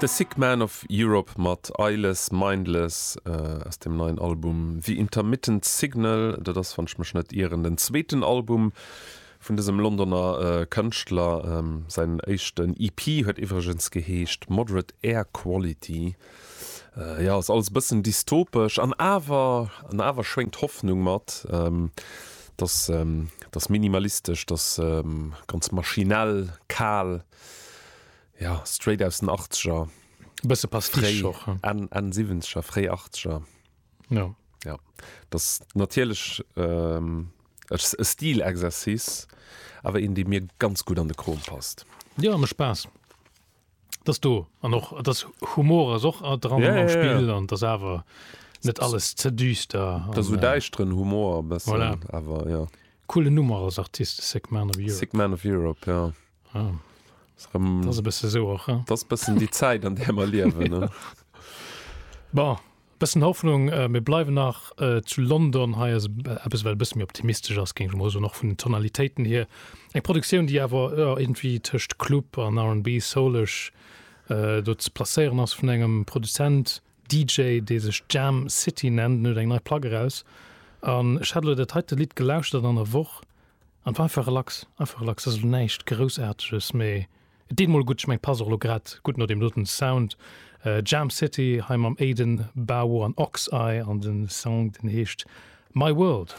The Sick Man of Europe mat Eyeless Mindless aus dem neien Album The Intermittent Signal. Dat ass, wann ech mech net ieren, den zweeten Album vun dësem Londoner Kënschtler. Säin éischten EP huet iwwregens geheescht Moderate Air Quality. Jo, ass alles e bëssen dystopesch an awer, an awer schwéngt Hoffnung mat. T'ass, t'ass minimalistesch, t'ass ganz maschinell, kal. Jo, straight aus den Achtzeger. E bësse Pastiche och, he? Enn, Enn Siwwenzeger, fréi Achtzeger. Jo. Jo, dat ass natierlech e Stilexercice, awer een, dee mir ganz gutt an de Krom passt. Jo, mécht Spaass. Dat ass do. An och, et ass Humor ass och dran am Spill an et ass awer net alles ze düster. Dat ass esou däischteren Humor e bëssen, Voilà. awer jo. Coolen Numm och als Artist, Sick Man of Europe. Sick Man of Europe, jo. Ah. Dat ass e bësse sou och, hein? Dat ass bëssen déi Zäit, an där mer liewen, ne? Bon, bëssen Hoffnung. Mir bleiwen nach zu London. Hei ass eppes, wat e bësse méi optimistesch ass, géing ech mol soen, och vun den Tonalitéiten hier. Eng Produktioun, déi awer, jo, iergendwéi tëscht Club an R&B, soulesch do ze placéieren ass, vun engem Produzent, DJ, dee sech Jam City nennt. En huet eng nei Plack eraus an ech hat elo dat heite Lidd gelauschtert an der Woch an war einfach relax, einfach relax. Ass elo näischt Groussaarteges, mee et deet mol gutt. Ech mengen, et passt och elo grad gutt no deem doten Sound. Jam City hei mam Aiden Bawo an Oxeye an den Song, deen heescht My World.